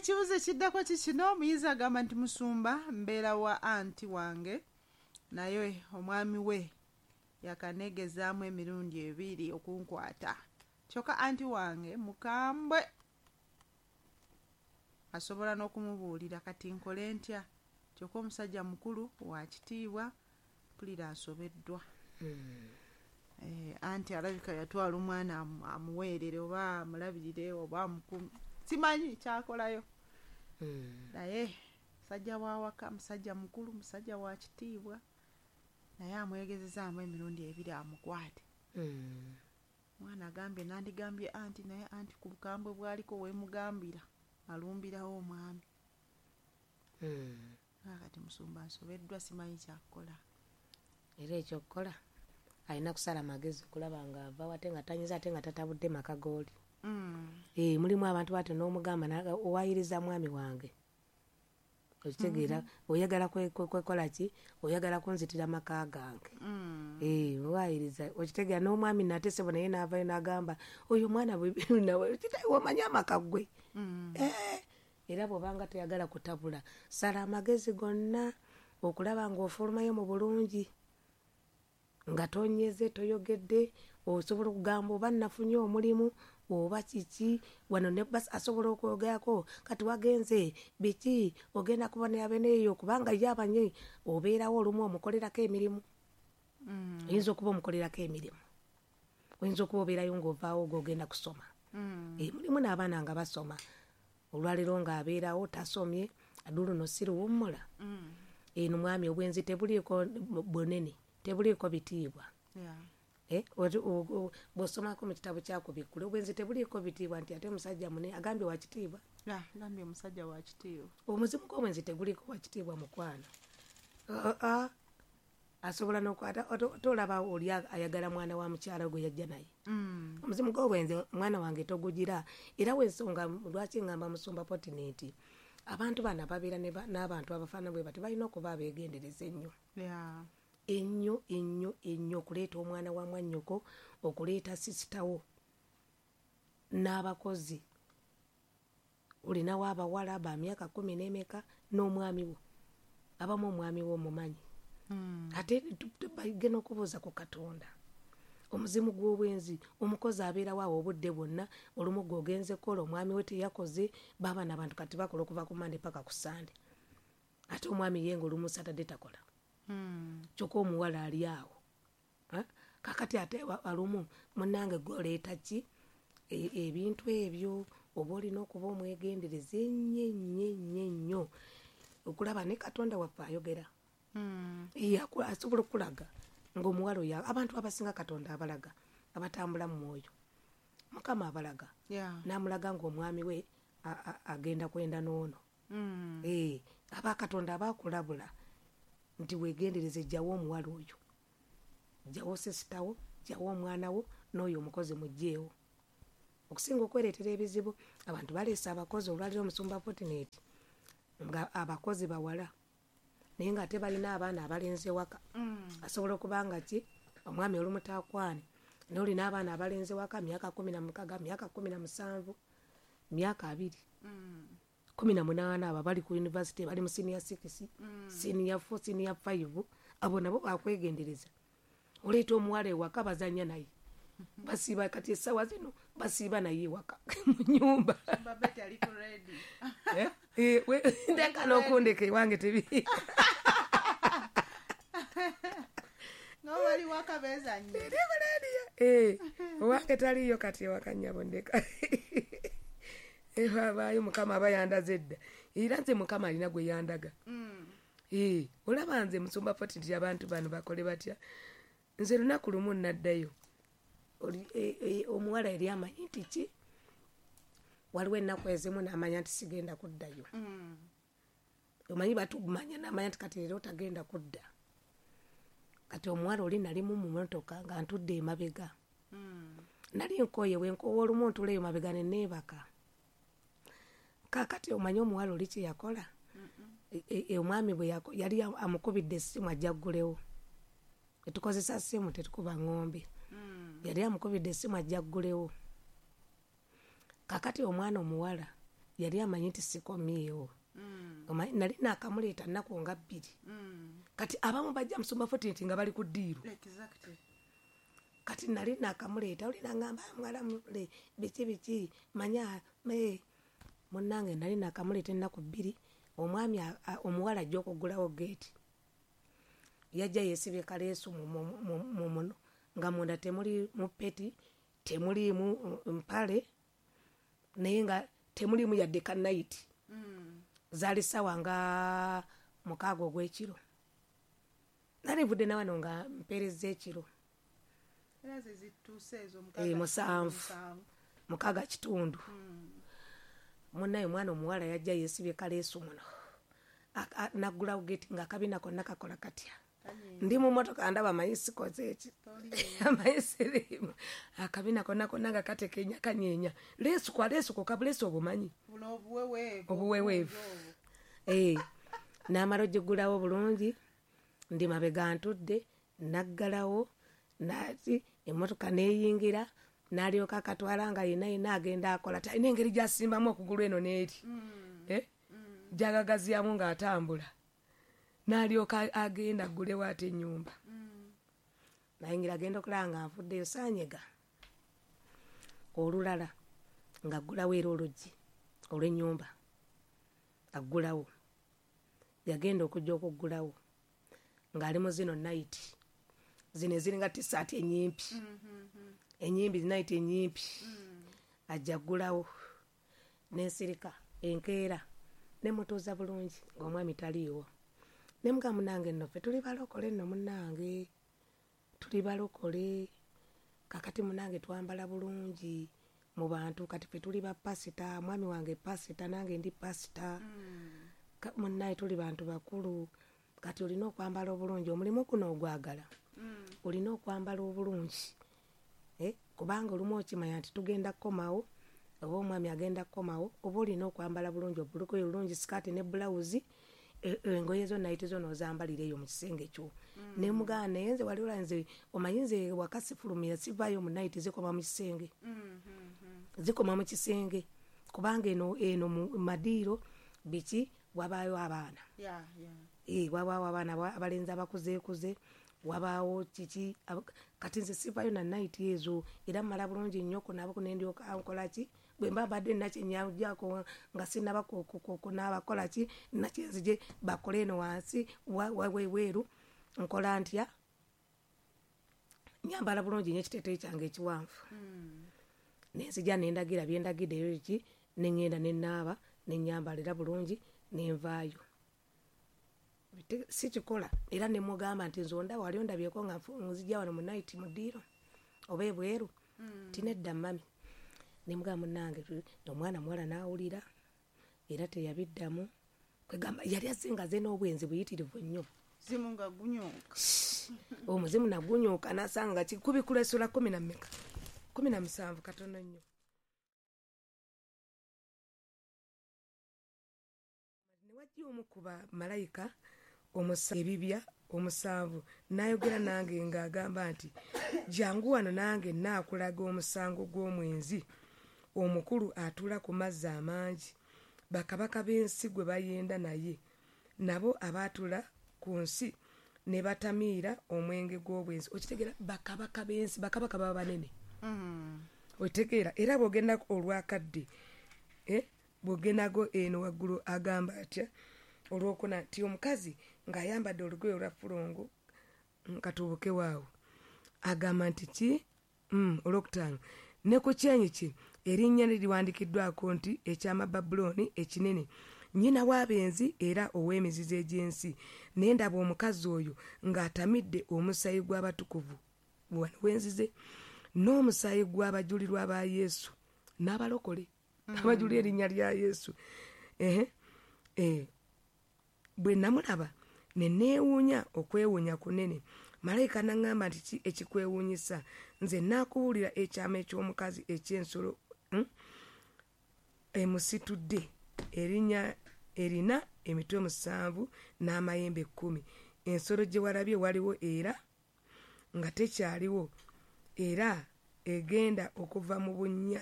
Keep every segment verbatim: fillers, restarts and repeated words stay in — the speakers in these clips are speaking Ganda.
Ekibuzo ekiddako kikino. Omuyizi agamba nti, "Musumba, mbeera wa anti wange, naye omwami we yakanegezaamu emirundi ebiri okunkwata, kyokka anti wange mukambwe, asobola n'okumubuulira. Kati nkole ntya? Kyokka omusajja mukulu wa kitiibwa, mpulira asobeddwa." Eh, anti alabika yatwala omwana amu- amuweerere oba amulabirire oba amukume, simanyi kyakolayo, naye musajja wawaka, musajja mukulu, musajja wa kitiibwa, naye amwegezezaamu emirundi ebiri amukwate. Mwana agambye, nandigambye anti, naye anti ku bukambwe bwaliko wemugambira alumbirawo omwami. Kati musumba, nsobeddwa, simanyi kyakukola. Era ekyokukola, alina kusala magezi okulaba nga ava ate nga tanyiza, ate nga tatabudde maka gooli. Mm. Eh, mulimu abantu bati n'omugamba, "Owayiriza mwami wange, okitegeera? Oyagala kwe- kwe- kwekola ki? Oyagala kunzitira maka gange?" Mm. Eh, owayiriza, okitegeera? N'omwami nate sebo naye n'avayo n'agamba oyo omwana bwe- nawe, omanyi amaka gwe. Mm. Eh, era bw'obanga toyagala kutabula, sala amagezi gonna okulaba ng'ofulumayo mu bulungi, nga tonyeze, toyogedde. Osobola okugamba oba nafunye omulimu oba kiki wano, ne bas asobola okwogerako. Kati wagenze biki? Ogenda kubonera beneeyo, kubanga ye abanye obeerawo olumu omukolerako emirimu. Mm. Oyinza okuba omukolerako emirimu, oyinza okuba obeerayo ng'ovaawo g'ogenda kusoma. Mm. Eh, mulimu n'abaana nga basoma, olwaleero ng'abeerawo tasomye, aduluno si luwummula. Mm. Eno mwami, obwenzi tebuliiko bunene, tebuliiko bitiibwa. Yeah. Eh, oti- o- o- bw'osomako mu kitabo kyakubikkula, obwenzi tebuliiko bitiibwa, nti ate musajja mune agambye wa kitiibwa. Yeah, gambye omusajja wa kitiibwa. Omuzimu gw'obwenzi teguliiko wa kitiibwa, mukwano. Ah, ah. Asobola nokwata, tolaba oli ayagala mwana wa mukyala gwe yajja naye. Mm. Omuzimu gw'obwenzi, mwana wange, togugira. Era wensonga lwaki ngamba musumba Potinenti, abantu bano ababeera ne ba- n'abantu abafaanana bwe bati balina okuba abeegendereza ennyo, Yeah. ennyo ennyo ennyo, okuleeta omwana wa mwannyoko, okuleeta sisitawo n'abakozi. Olinawo abawala ba myaka kumi n'emeka n'omwami wo, abamu omwami wo omumanyi. Mm. Ate tu- tu- bagenda okubuuza ku Katonda. Omuzimu gw'obwenzi, omukozi abeerawo awo obudde bwonna, olumu gweogenze kukola, omwami we teyakoze. Baaba nabantu kati bakola okuva ku Mande paka ku Sande, ate omwami ye nga olumu Satade takola. Mm. Kyokka omuwala ali awo. Ha? Kakati ate wa- alumu munange gwoleeta ki? E- ebintu ebyo oba olina okuba omwegendereza ennyo ennyo ennyo ennyo, okulaba ne Katonda waffe ayogera. Mm. Ye aku- asobola okulaga ngaomuwala oyo, abantu abasinga Katonda abalaga abatambula mu mwoyo, Mukama abalaga. Yeah. N'amulaga ngaomwami we a- a- agenda kwenda n'ono. Mm. Eh, aba Katonda aba akulabula nti wegendereze, jjawo omuwala oyo, jjawo sisitawo, jjawo omwana wo n'oyo omukozi, mugjeewo, okusinga okwereetera ebizibu. Abantu baleese abakozi olwaliro, omusumba Fortunate, nga abakozi bawala, naye nga ate balina abaana abalenzi ewaka. Mm. Asobola okuba nga ki omwami olumu takwane, naye olina abaana abalenzi ewaka, myaka kumi na mukaga, myaka kumi na musanvu, myaka abiri, Mm. kumi na munaana, abo bali ku university, bali mu senior six, Mm. senior four, senior five, abo nabo bakwegendereza. Oleeta omuwala ewaka, bazanya naye, basiiba. Kati essaawa zino basiiba naye ewaka mu nyumba. Babeti ali ku ready. Eh, eh, we- ndeka n'okundeka ewange tebi. Nga bali waka bezanye. Eh, owange taliyo kati ewaka, nnyabo, ndeka abaayo. Mukama aba yandaze edda, era nze Mukama alina gwe yandaga. Mm. Eh, olaba nze musumba Foti nti abantu bano bakole batya? Nze lunaku lumu naddayo. Oli- eh, eh, omuwala yali amanyi nti ki, waliwo ennaku ezimu namanya nti sigenda kuddayo. Mm. Omanyi batumanya, namanya nti kati leero tagenda kudda. Kati omuwala oli nalimu mu motoka nga ntudde emabega. Mm. Nali nkoye, bwenkoowa olumu ntula eyo mabega neneebaka. Kakati omanyi omuwala oli kyeyakola? E- e- e- omwami bwe yako- yali amukubidde essimu ajja ggulewo. Tetukozesa ssimu, tetukuba ŋŋombe. Mm. Yali amukubidde essimu ajja ggulewo. Kakati omwana omuwala Yali amanyi nti sikomyewo. Omanyi nali naakamuleeta nnaku nga bbiri. Kati abamu bajja musumba Fortunate nga bali ku ddiiru. Exactly. Kati nali naakamuleeta oli nangamba mwala mule biki biki manya me munnange nali naakamuleeta ennaku bbiri. Omwami omuwala ajja okuggulawo geeti. Yajja yeesibye kaleesu mu muno nga munda temuli mupeti, temuliimu mpale, naye nga temuliimu yadde ka nayiti. Zaali ssaawa nga mukaaga ogw'ekiro. Nali nvudde na wano nga mpeerezza ekiro. Era ze zituuse ezo musanvu. Mukaaga kitundu. Munnaye omwana omuwala yajja yeesibye kaleesu muno. Naggulawo geeti ng'akabina konna kakola katya. Ndi mu mmotoka ndaba amanyi sikoze eki. Amanyi siriimu. Akabina konna konna nga katekenya kanyeenya. Leesu kwa leesu kokka buleesu obumanyi. Buno obuweweevu. Obuweweevu. Eh, n'amala ogiggulawo bulungi, ndi mabega ntudde, naggalawo, nati emmotoka n'eyingira, n'alyoka akatwala nga yenna yenna agenda akola. Alina engeri gy'asimbamu okugulu eno n'eri. Eh? Gy'agagazyamu ng'atambula. N'alyoka agenda aggulewo ate ennyumba. Nayingira agenda okulaba nga nvuddeyo saanyega. Olulala ng'aggulawo era oluggi olw'ennyumba. Aggulawo. Yagenda okujja okuggulawo ng'ali mu zino nayiti. Zino eziringa tissaati ennyimpi. Ennyimpi nayiti ennyimpi. Ajja aggulawo n'ensirika enkeera ne mutuuza bulungi ng'omwami taliiwo. Ne mugamba munnange nno ffe tuli balokole nno munnange. Tuli balokole. Kakati munnange twambala bulungi mu bantu kati ffe tuli ba pasita, mwami wange pasita nange ndi pasita. Munnaye tuli bantu bakulu. Kati olina okwambala obulungi omulimu guno ogwagala. Olina okwambala obulungi. Eh, kubanga olumu okimanya nti tugenda kukomawo oba omwami agenda kukomawo oba olina okwambala bulungi obulugoye bulungi sikaati ne bulawuzi engoye zo nayiti zo n'ozambalira eyo mu kisenge kyo. Ne mugamba naye nze wali olaba nze omanyi nze waka sifulumira sivaayo mu nayiti zikoma mu kisenge. Zikoma mu kisenge kubanga eno eno mu madiiro biki wabaayo abaana. Yeah, yeah. Eh, wabaawo abaana abalenzi abakuzeekuze wabaawo kiki kati nze sivaayo na nayiti ezo era mmala bulungi nnyo kunaabako ne ndyoka nkola ki bwe mba mbadde nakyennyajjako nga sinnaba kunaaba kukola ki nakyenzije bakole eno wansi webweru nkola ntya nyambala bulungi nnyo ekiteeteeyi kyange ekiwanvu. Ne nzija ne ndagira bye ndagiddeyo ki ne ŋŋenda ne nnaaba ne nnyambala era bulungi ne nvaayo. Sikikola era ne mugamba nti nze ondaba wali ondabyeko nga nzija wano mu nayiti mu ddiiro oba ebweru nti nedda mami. Ne mugamba munnange omwana muwala n'awulira era teyabiddamu. Kwegamba yali azze nga azze n'obwenzi buyitirivu nnyo. Muzimu nga gunyooka. Omuzimu nagunyooka n'asanga kikubikula essula kkumi na mmeka? Kkumi na musanvu katono nnyo. Ne wajja omu ku bamalayika ebibya omusanvu n'ayogera nange ng'agamba nti jangu wano nange nnaakulaga omusango gw'omwenzi omukulu atuula ku mazzi amangi bakabaka b'ensi gwe bayenda naye nabo abaatula ku nsi ne batamiira omwenge gw'obwenzi. Okitegeera bakabaka b'ensi bakabaka baba banene. Okitegeera era bw'ogenda olwakadde eh, bw'ogendago eno waggulu agamba atya olwokuna nti omukazi ng'ayambadde olugoye olwa ffulungu katuubuke waawo agamba nti ki mm, olwokutaano ne ku kyenyi kye erinnya lye liwandiikiddwako nti eky'Amababulooni ekinene nnyina w'abenzi era ow'emizizo egy'ensi. Ne ndaba omukazi oyo ng'atamidde omusaayi gw'abatukuvu wano wenzize n'omusaayi gw'abajulirwa ba Yesu n'abalokole abajulira erinnya lya Yesu. Ehe, eh, bwe namulaba ne neewuunya okwewuunya kunene. Malayika n'aŋŋamba nti ki ekikwewuunyisa? Nze naakubuulira ekyama eky'omukazi eky'ensolo mm, emusitudde erinnya erina emitwe musanvu n'amayembe kkumi. Ensolo gye walabye waliwo era nga tekyaliwo era egenda okuva mu bunnya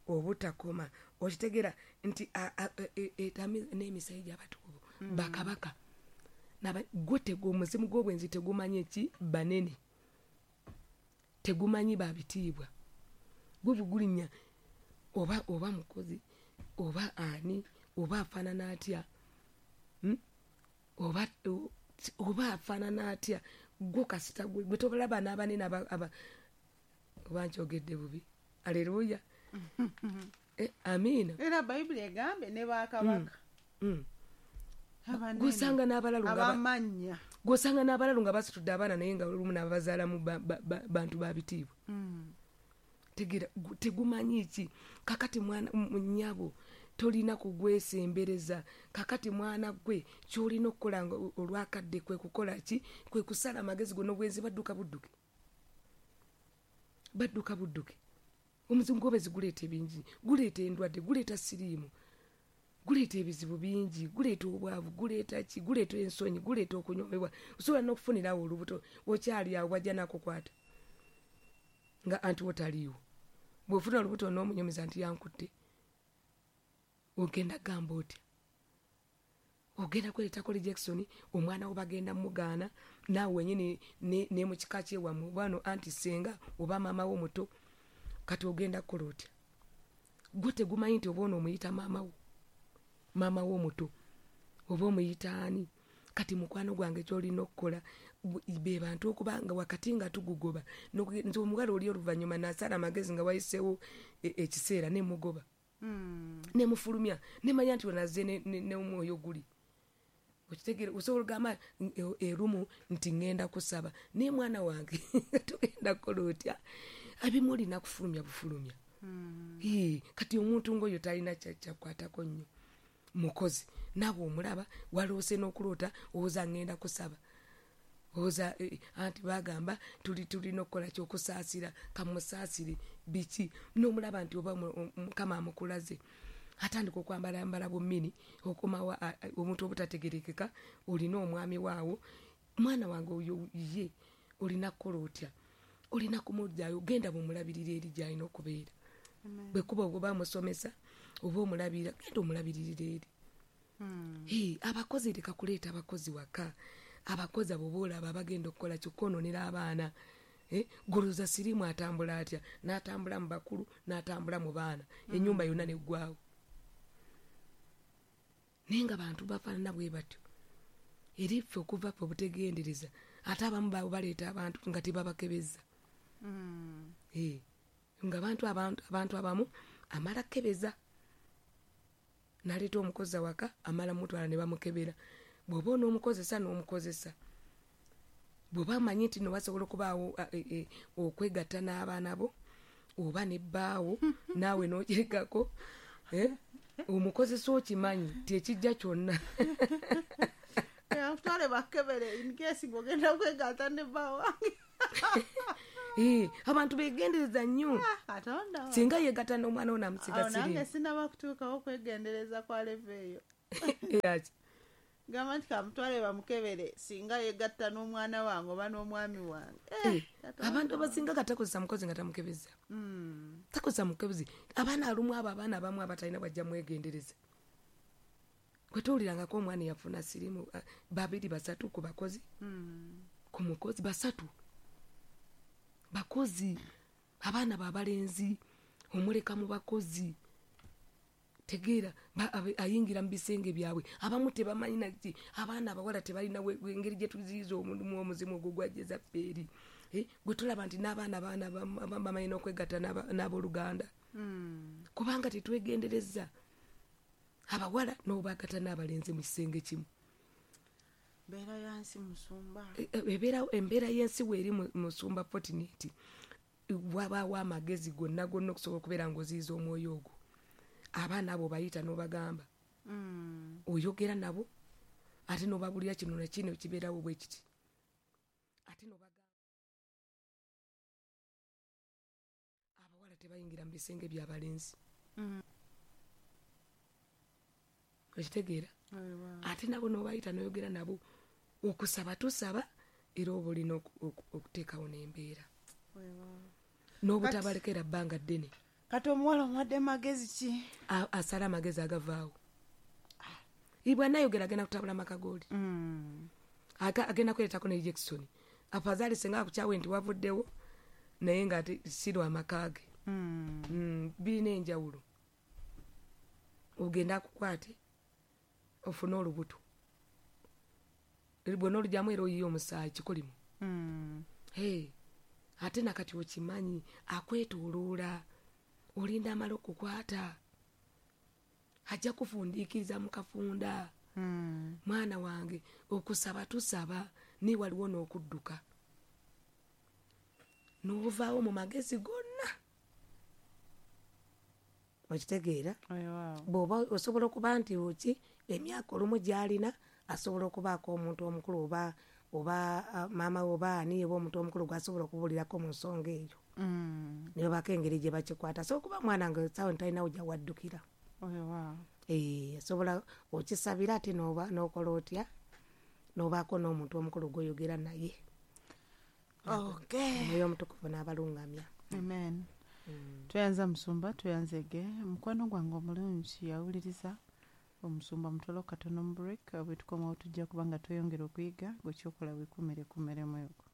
obutakoma Okitegera nti n'emisayi gy'abatukuvu bakabaka gwe omuzimu gw'obwenzi tegumanyi ki banene, tegumanyi babitiibwa, gwe bugulinya oba oba mukozi oba ani oba afaanana atya, oba oba afaanana atya, gwe kasita gwe tobalaba n'abanene aba oba nkyogedde bubi. Aleluya. Amiina. Era Bayibuli egambe ne bakabaka. Gwosanga n'abalalu abamanya, gwosanga n'abalalu nga basitudde abaana naye nga olumu n'abazaalamu bantu ba bitiibwa. Tegeera tegumanyi ki. Kakati mwana nnyabo tolina kugwesembereza. Kakati mwana gwe ky'olina okukola olwakadde kwe kukola ki? Kwe kusala amagezi gonna obwenzi badduka budduke, badduka budduke. Omuzimu gw'obwenzi guleeta ebingi, guleeta endwadde, guleeta siriimu, guleeta ebizibu bingi, guleeta obwavu, guleeta ki, guleeta ensonyi, guleeta okunyomebwa. Osobola n'okufunirawo olubuto okyali awo wajja n'akukwata nga anti wotaliiwo. Bw'ofuna olubuto n'omunyumiza nti yankutte, ogenda gamba otya? Ogenda kwereetako rejection, omwana wo bagenda mugaana, naawe wennyini ne mu kika kyewammwe oba no anti ssenga oba maama wo muto, kati ogenda kukola otya? Gwe tegumanyi nti oba ono omuyita maama wo, maama wo omuto oba omuyita ani? Kati mukwano gwange ky'olina okukola be bantu okuba nga wakati nga tugugoba. Nze omuwala oli oluvannyuma nasala amagezi nga wayiseewo ekiseera ne mugoba, ne mufulumya, ne manya nti onazze n'omwoyo guli. Okitegeera? Osobola ogamba erumu nti ŋŋenda kusaba, naye mwana wange togenda kukola otya? Abimu olina kufulumya bufulumya. Kati omuntu ng'oyo talina kyakwatako nnyo. Mukozi naawe omulaba waloose n'okuloota owoza ŋŋenda kusaba, owoza anti bagamba tuli tulina okukola kyokusaasira, kamusaasire biki, n'omulaba nti oba Mukama amukulaze. Atandika okwambalambala bummini, okomawo omuntu obutategerekeka, olina omwami waawo. Mwana wange oyo ye olina kukola otya? Olina kumugyayo, genda bumulabirira eri gy'alina okubeera. Bwe kuba oba musomesa oba omulabirira, genda omulabiririra eri. Abakozi leka kuleeta abakozi waka. Abakozi abo boolaba bagenda okukola kyokwonoonera abaana. Goloza siriimu atambula atya? N'atambula mu bakulu, n'atambula mu baana, ennyumba yonna neggwawo. Naye nga bantu bafaanana bwe batyo. Eri ffe okuva ffe obutegendereza, ate abamu baabo baleeta abantu nga tebabakebeza. Nga abantu abantu abamu amala kebeza, n'aleeta omukozi awaka, amala mutwala ne bamukebera. Bw'oba onoomukozesa n'omukozesa, bw'oba amanyi nti no wasobola okubaawo okwegatta n'abaana bo oba ne bbaawo naawe n'okirekako, omukozesa okimanyi nti ekijja kyonna. Twale bakebere in case ng'ogenda kwegatta ne bba wange. Abantu beegendereza nnyo. Singa yeegatta n'omwana wo n'amusiga siriimu. Nange sinnaba kutuukawo okwegendereza kwa level eyo. Gamba nti kamutwale bamukebere singa yegatta n'omwana wange oba n'omwami wange. Abantu abasinga katakozesa mukozi nga tamukebeza. Takozesa mukebezi. Abaana alumu abo abaana abamu abatalina bwajja mwegendereza. Gwe towulirangako omwana yafuna siriimu babiri basatu ku bakozi, ku mukozi basatu bakozi, abaana babalenzi omuleka mu bakozi. Tegeera ayingira mu bisenge byabwe, abamu tebamanyi naki, abaana abawala tebalina engeri gye tuziyiza omulimu omuzimu ogwo gwajjeza ffe eri. Gwe tulaba nti n'abaana abaana bamanyi n'okwegatta n'abooluganda, kubanga tetwegendereza abawala n'obagatta n'abalenzi mu kisenge kimu. Embeera y'ensi musumba, embeera y'ensi weeri musumba Fortunate, wabaawo amagezi gonna gonna okusobola okubeera ng'oziyiza omwoyo ogwo. Abaana abo bayita n'obagamba, oyogera nabo ate n'obabulira kino na kino kibeerawo bwe kiti, ate n'obagamba abawala tebayingira mu bisenge by'abalenzi. Okitegeera? Ate nabo n'obayita n'oyogera nabo, okusaba tusaba era oba olina okuteekawo n'embeera n'obutabalekera bbanga ddene. Kati omuwala omuwadde magezi ki? A- asala amagezi agavaawo. Ibwanayogera agenda kutabula amaka gooli. Mm. Aga- agenda kweretako ne Jackson. Afazaali senga akukyawe nti wavuddewo, naye nga ate si lwa maka ge. Mm. Mm, birina enjawulo. Ogenda akukwate ofune olubuto, bwona olugyamu era oyiye omusaayi kikolimu. Mm. Hey, ate nakati okimanyi akwetooloola, olinda amala okukwata, ajja kufundiikiriza mu kafunda. Mm. Mwana wange, okusaba tusaba, naye waliwo n'okudduka n'ovaawo mu magezi gonna. Okitegeera? Weewaawo. Bw'oba osobola okuba nti oki emyaka olumu gy'alina, asobola okubaako omuntu omukulu oba oba ah, maama we oba ani oba omuntu omukulu gw'asobola okubuulirako mu nsonga eyo. Mm. Ne babaako engeri gye bakikwata. Asobola okuba mwana nga essaawa talinawo gyawaddukira. Weewaawo. Eh, asobola okisabira ate n'oba n'okola otya, n'obaako n'omuntu omukulu gw'oyogera naye. Okay. Omwoyo Omutukuvu n'abalungamya. Amen. Tweyanza musumba, tweyanzege mukwano gwange omulungi yawuliriza omusumba. Mutwalo katono mu break, bwe tukomawo tujja kuba nga tweyongera okuyiga. Gwe kyokola wekumere kumeremu egwo.